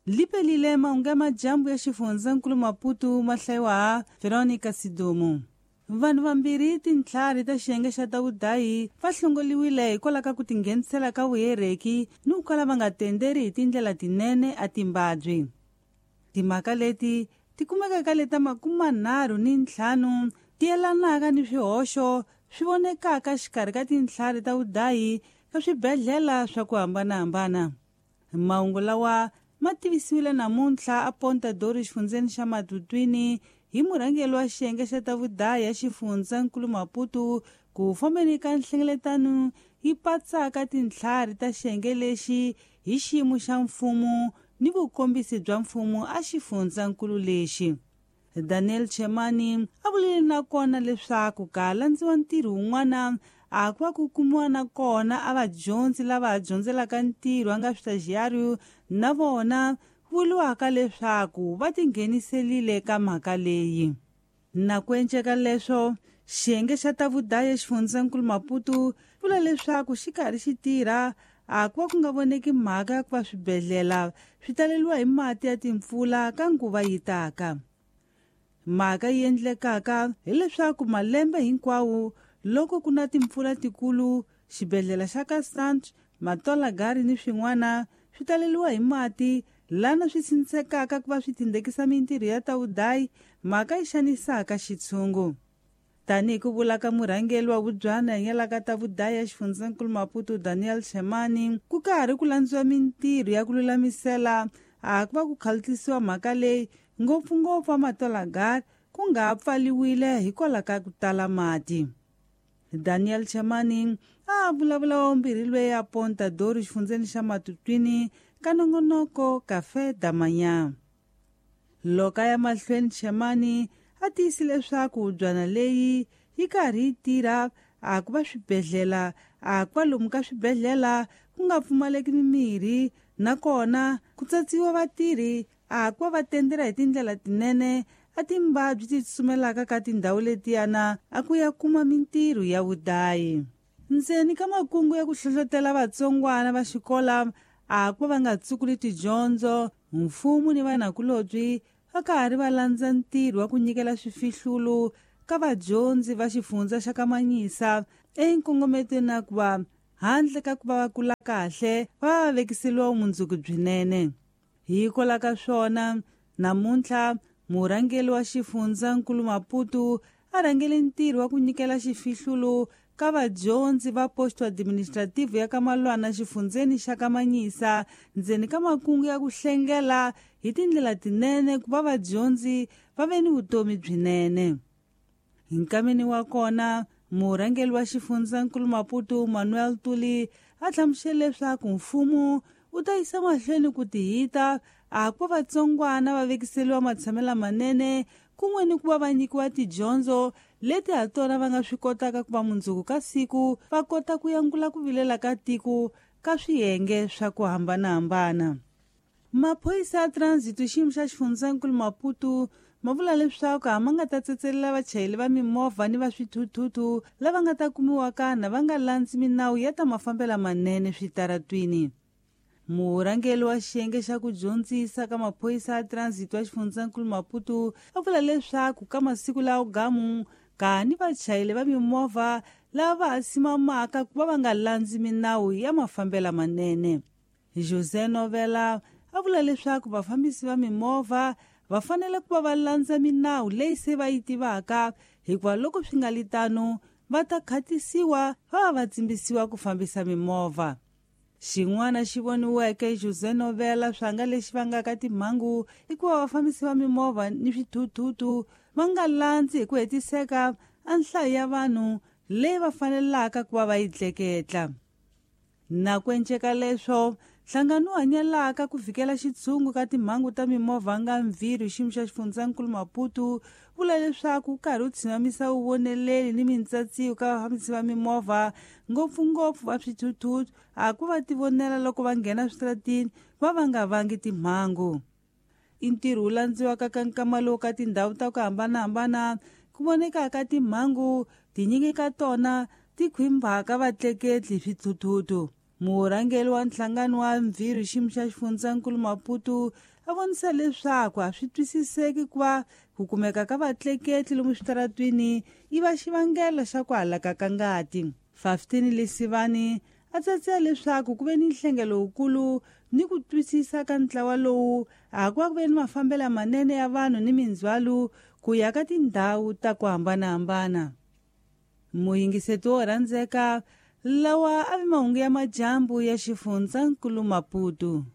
Lipelile mahungu ya majambu ya xifundzankulu Maputo ma hlayiwa ha Veronica Sidumo. Vanhu vambirhi tintlhari ta xiyenge xa ta vudayi va hlongoliwile hikwalaho ka ku tinghenisela ka vuhereki ni ku kala va nga tenderi hi tindlela tinene a timbabyi. Timhaka leti ti kumeka ka leta 35 ti yelanaka ni swihoxo swi vonekaka xikarhi ka tintlhari ta vudayi ka swibedhlele swa ku hambanahambana. Mahungu lawa ma tivisiwile namuntlha a Ponta Dori xifundzeni xa Matutwini hi murhangeri wa xiyenge xa ta vudayi ya xifundzankulu Maputo ku fambeni ka nhlengeletano yi patsaka tintlhari ta xiyenge lexi hi xiyimo xa mfumo ni vukombisi bya mfumo a xifundzankulu lexi. Daniel Chemani a vulile nakona leswaku ka landziwa ntirho wun'wana a ku va ku kumiwa na kona a vadyondzi lava dyondzelaka ntirho a nga switajiyario na vona vuriwaka leswaku va tingheniselile ka mhaka leyi. Na ku enceka leswo xiyenge xa ta vudayi xifundzankulu Maputo vula leswaku xi karhi xi tirha a ku va ku nga voneki mhaka ya ku va swibedhlele swi taleriwa hi mati ya timpfula ka nguva yi taka. Mhaka yi endlekaka hileswaku malembe hinkwawo loko ku na timpfula tikulu xibedhlele xa ka Sant Matolagari ni swin'wana swi taleriwa hi mati lana swi sindzekaka ku va swi tindekisa mintirho ya ta vudayi mhaka yi xanisaka xitshungu. Tanihi ku vula ka murhangeri wa vubyana hanyelaka ta vudayi ya xifundzankulu Maputo Daniel Chemani ku karhi ku landziwa mintirho ya ku lulamisela a ku va ku khaltisiwa mhaka leyi ngopfungopfu a Matolagari ku nga pfaliwile hikwalaho ka ku tala mati. Daniel Chemani a vulavula wa vumbirhi lweyi a Ponta Dori xifundzeni xa Matutwini ka nongonoko Café da Manhã. Loko a ya mahlweni Chemani a tiyisile leswaku byana leyi yi karhi yi tirha a ku va swibedhlele a ku va lomu ka swibedhlele ku nga pfumaleki mimirhi nakona ku tsatsiwa vatirhi a ku va va tendela hi tindlela tinene a timbabyi ti tsumelaka ka tindhawu letiyana a ku ya kuma mintirho ya vudayi. Ndzeni ka makungu ya ku hlohlotela vatsongwana va xikola a ku va nga tsukuli tidyondzo mfumo ni vanakulobyi va karhi va landza ntirho wa ku nyikela swifihlulo ka vadyondzi va xifundza xa Kamanyisa enkongometweni na ku va handle ka ku va va kula kahle va va vekiseliwa vumundzuku byinene. Hikwalaho ka swona namuntlha murhangeri wa xifundzankulu Maputo a rhangele ntirho wa ku nyikela xifihlulo ka vadyondzi va posto administrative ya ka Malwana xifundzeni xa Kamanyisa ndzeni ka makungu ya ku hlengela hi tindlela tinene ku va vadyondzi va ve ni vutomi byinene. Hi nkameni wa kona murhangeri wa xifundzankulu Maputo Manuel Tuli a hlamusele leswaku mfumo wu ta yisa mahlweni ku tihita a ku va vatsongwana va vekiseliwa matshamelo manene kun'we ni ku va va nyikiwa tidyondzo leti ha tona va nga swi kotaka ku va mundzuku ka siku va kota ku yangula ku vilela ka tiko ka swiyenge swa ku hambanahambana. Maphorisa ya transit xiyimo xa xifundzankulu Maputo ma vula leswaku a ma nga ta tsetselela vachayeri va mimovha ni va swithuthuthu lava nga ta kumiwaka na va nga landzi minawu ya ta mafambelo manene switaratwini. Murhangeri wa xiyenge xa ku dyondzisa ka maphorisa ya transit wa xifundzankulu Maputo a vula leswaku ka masiku lawa gamu ka ni vachayeri va mimovha lava va ha simamaka ku va va nga landzi minawu ya mafambelo manene. José Novela a vula leswaku vafambisi va mimovha va fanele ku va va landza minawu leyi se va yi tivaka hikuva loko swi nga li tano va ta khatisiwa va va va tsimbisiwa ku fambisa mimovha. Xin'wana xi voniweke José Novela swanga lexi vangaka timhangu i ku va vafambisi va mimovha ni swithuthuthu va nga landzi hi ku hetiseka a nhlayo ya vanhu leyi va fanelaka ku va va yi tleketla. Na ku enceka leswo nhlangano wu hanyelaka ku fikela xitshungu ka timhangu ta mimovha nga mviri xiyimo xa xifundzankulu Maputo vula leswaku wu karhi wu tshinamisa vuvoneleli ni mintsatsiwo ka vafambisi va mimovha ngopfungopfu va swithuthuthu a ku va tivonela loko va nghena switaratini va va nga vangi timhangu. I ntirho wu landziwaka ka nkama lowu ka tindhawu ta ku hambanahambana ku vonekaka timhangu tinyingi ka tona ti khwimbaka vatleketli hi swithuthuthu. Murhangeri wa nhlangano wa mvhirhi xiyimo xa xifundzankulu Maputo a vonisa leswaku a swi twisiseki ku va ku kumeka ka vatleketli lomu switaratwini i va xivangelo xa ku halaka ka ngati. 15 Lesivani a tsatsela leswaku ku ve ni nhlengelo wukulu ni ku twisisa ka ntlawa lowu a ku va ku ve ni mafambelo manene ya vanhu ni mindzhwalo ku ya ka tindhawu ta ku hambanahambana. Muyingiseti wo rhandzeka, lawa a vi mahungu ya madyambu ya xifundzankulu Maputo.